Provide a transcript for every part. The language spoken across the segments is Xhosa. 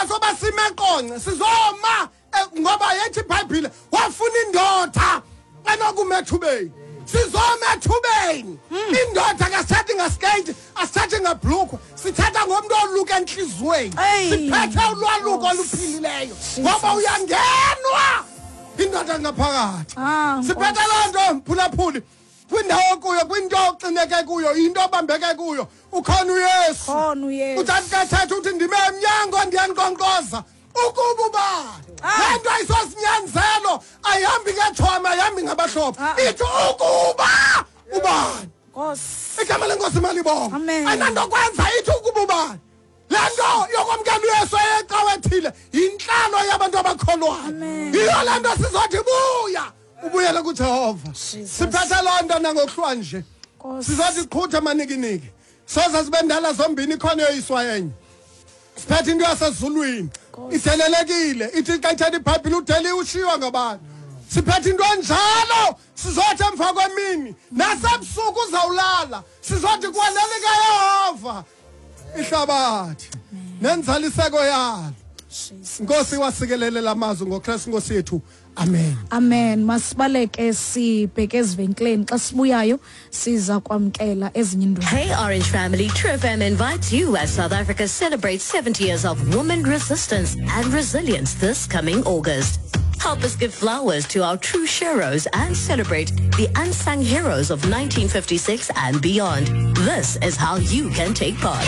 soba sime eQonce, sizoma ngoba yethi iBhayibhile wafuna indoda enokuma ethubeni. Sizoma ethubeni. Indoda kasithathi ngaskate, asithathi ngabhlukwe, sithatha ngomntu oluka entliziyweni. Siphethe ulwaluko oluphilileyo ngoba uyangenwa indoda ngaphakathi. Siphethe loo nto, mphulaphuli, kwindawo kuyo, kwinto oxineke kuyo, into obambeke kuyo, ukhona uYesu. Uthathi kathetha uthi ndime emnyango ndiyankqonkqoza ukuba ubani. Le nto ayisosinyanzelo, ayihambi ngetshomi, ayihambi ngabahlobo, ithi ukuba ubani. Igama lenkosi malibonga. Ayinanto kwenza, ithi ukuba ubani. Le nto yokwamkela uYesu eyecawa ethile yintlalo yabantu abakholwayo. Yiyo le nto sizothi buya, ubuyele kuJehova. Siphethe loo nto nangokuhlwa nje. Sizothi qhutha manikiniki, soze sibe ndala zombini, ikhona yoyiswa enye. Siphethe into yasezulwini, idelelekile, ithi xa ithetha iBhayibhile udeli ushiywa ngabantu. Siphethe into enjalo, sizothi emva kwemini nasebusuku uzawulala, sizothi kwalelikaYehova ihlabathi nenzaliseko yalo. Nkosi wasikelele lamazwi ngoKristu Nkosi yethu. Amen. Amen. Masibaleke sibheke ezivenkileni, xa sibuyayo siza kwamkela ezinye iindwendwe. Hey Orange family, True FM invites you as South Africa celebrates 70 years of women resistance and resilience this coming August. Help us give flowers to our true sheroes and celebrate the unsung heroes of 1956 and beyond. This is how you can take part.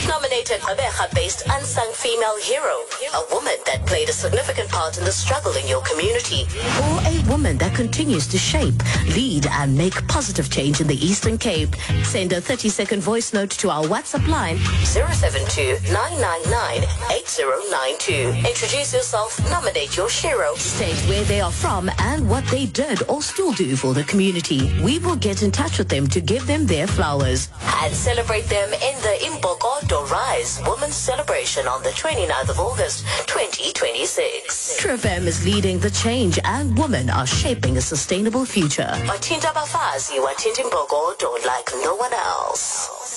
Nominate a Gqeberha-based unsung female hero, a woman that played a significant part in the struggle in your community, or a woman that continues to shape, lead, and make positive change in the Eastern Cape. Send a 30-second voice note to our WhatsApp line 072-999-8092. Introduce yourself, nominate your shero, state where they are from and what they did or still do for the community. We will get in touch with them to give them their flowers and celebrate them in the Imbokodo Rise Women's Celebration on the 29th of August, 2026. True FM is leading the change and women are shaping a sustainable future. Wathinta abafazi, wathinta imbokodo like no one else.